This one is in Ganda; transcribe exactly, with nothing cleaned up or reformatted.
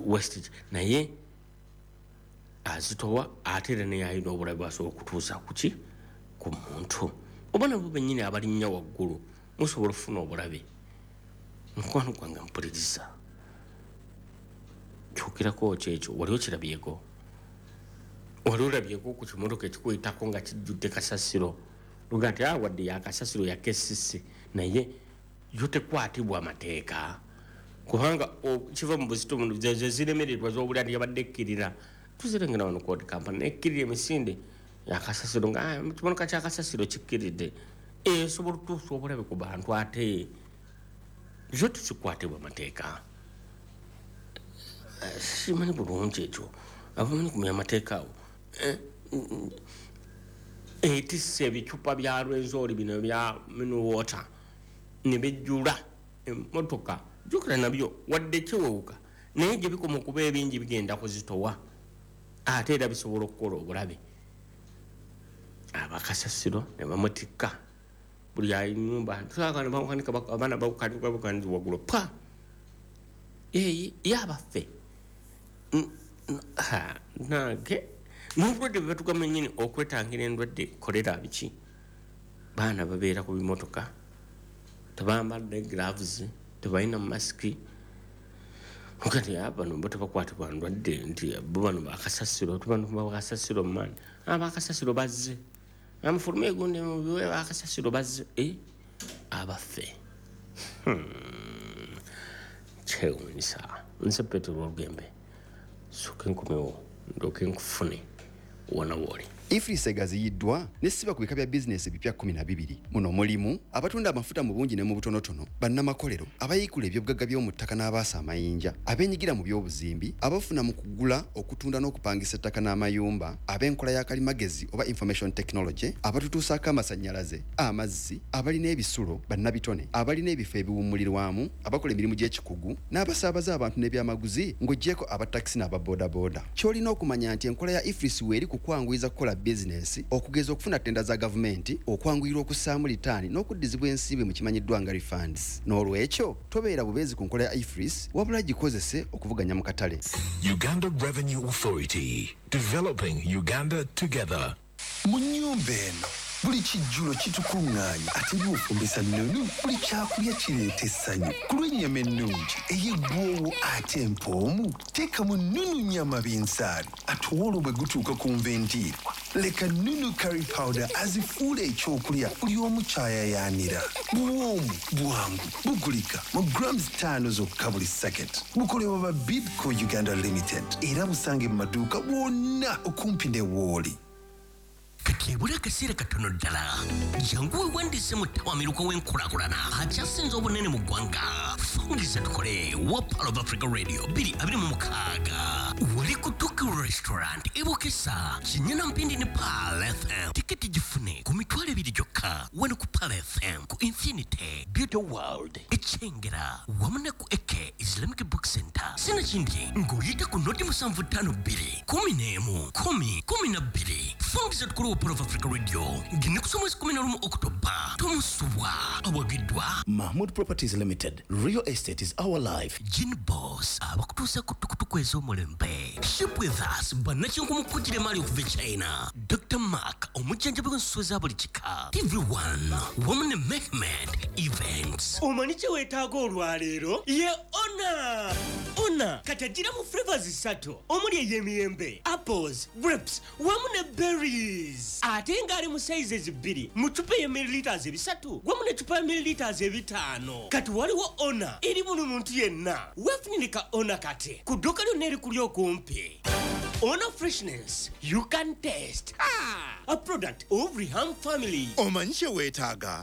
Wastage, naye azitowa, ate era naye alina obulabe bwasobola okutuusa kuki ku muntu, oba nabo bennyini abalinnya waggulu musobola okufuna obulabe. Mukwano gwange mpuliriza, kyukirako kyekyo. Wali okirabyeko, wali olabyeko ku kimotoka ekikuyitako nga kijjudde kasasiro, luga nti ah, wadde yakasasiro yakesisi, naye yo tekwatibwa amateeka kubanga kiva mu buzito ziremererwa z'obulya nti yabadde ekkirira. Tuzirengera wano kodi kampani ekkirira emisinde yakasasiro nga ah, kimotoka kyakasasiro kikkiridde, esobola okutuusa obulabe ku bantu, ate yo tekikwatibwa amateeka. Simanyi bulungi ekyo, abamanyi kumenya amateeka awo. Etisse ebicupa bya Rwenzori bino bya mineral water ne bijjula emmotoka. Jjukira nabyo wadde kiwewuka, naye gye bikoma okuba ebingi bigenda kuzitowa, ate era bisobola okukola obulabe. Abakasasiro ne bamutikka buli anyumba, abaana babukanika waggulu pa yabaffe nange n'obulwadde bwe batugamba nnyini okwetangira endwadde kolera biki, baana babeera ku bimotoka tebambadde gloves, tebalina masiki, kati bano bo tebakwatibwa ndwadde nti bo bano bakasasiro, tubano bakasasiro maani abakasasiro bazze amufulume egundi mubiwe bakasasiro bazze abaffe. Kyewuunyisa. Nze Petero Olugembe, sooka enkomewo ndooke nkufune wona wooli. EFRIS egaziyiddwa nesiba ku bika bya bizinesi ebipya kkumi na bibiri. Muno mulimu abatunda amafuta mu bungi ne mu butonotono, bannamakolero, abayiikula ebyobugagga by'omu ttaka n'abaasa amayinja, abeenyigira mu by'obuzimbi, abafuna mu kugula, okutunda n'okupangisa ettaka n'amayumba, ab'enkola ya kalimagezi oba information technology, abatutuusaako amasannyalaze, amazzi, abalina ebisulo, bannabitone, abalina ebifo ebiwummulirwamu, abakola emirimu gy'ekikugu n'abasaabaza abantu n'ebyamaguzi, ng'oggyeko abatakisi n'ababoodabooda. Ky'olina okumanya nti enkola ya EFRIS weeri ku kwanguyiza kukola bizinensi, okugeza okufuna ttenda za gavumenti, okwanguyirwa okussaamu litaani n'okuddizibwa ensimbi mu kimanyiddwa nga refunds. N'olwekyo tobeera bubeezi ku nkola ya EFRIS, wabula gikozese okuvuganya mu katale. Uganda Revenue Authority. Developing Uganda together. Mu nnyumba eno buli kijjulo kitukuŋŋaanya, ate bw'ofumbisa Nunu buli kyakulya kireeta essanyu. Ku lw'ennyama ennungi ey'eggwoowo ate empoomu, teekamu Nunu nyama binzaali. Ate olwo bwe gutuuka ku nva endiirwa, leka Nunu curry powder azifuula ekyokulya buli omu kyayayaanira. Buwoomu, bwangu, bugulika mu grams ttaano zokka buli sacket. Bukolebwa ba Bidco Uganda Limited era busange mu maduuka wonna okumpi ne wooli. Kati ebula akaseera katono ddala, jangu weewandiise mu ttawamiruka w'enkulaakulana akyasinze obunene mu ggwanga, Fungiza Tukole wa Pearl of Africa Radio twenty twenty-six, wali ku Tokyo Restaurant ebukesa Kinyana Mpindi ne Pearl F M. Tiketi gifune ku mitwalo ebiri gyokka wano ku Pearl F M, ku Infinity Beauty World Ekyengera wamu ne ku Eke Islamic Book Center. Sinakindi ng'oyita ku noti musanvu ttaano bbiri kumi n'emu kumi kumi na bbiri. Fungiza Tukole wa Pearl of Africa Radio ng'ennaku z'omwezi kumi na lumu Okutoba, tomusubwa. Awagiddwa Mahmood Properties Limited. Real estate is our life. Gin Boss abakutuusa ku tukutuku ez'omulembe, Ship With Us bannakinku kugira emaali okuva e China, Doctor Mark omujjanjabi w'ensuwa za buli kika, T V one wamu ne Mehmed Events. Omanyi kye weetaaga olwaleero? Ye Ona. Ona kati agira mu flavors ssatu omuli ey'emiyembe, apples, grapes wamu ne berries, ate ng'ali mu sizes bbiri, mu cupa ey'e milliliters ebisatu wamu ne cupa ya milliliters ebitaano. Kati waliwo Ona eri buli muntu yenna. Weefunire ka Ona kati ku dduuka lyonna erikuli okumpi. Ona, freshness you can taste. Ah, a product of Reham Family. Omanyi kye weetaaga?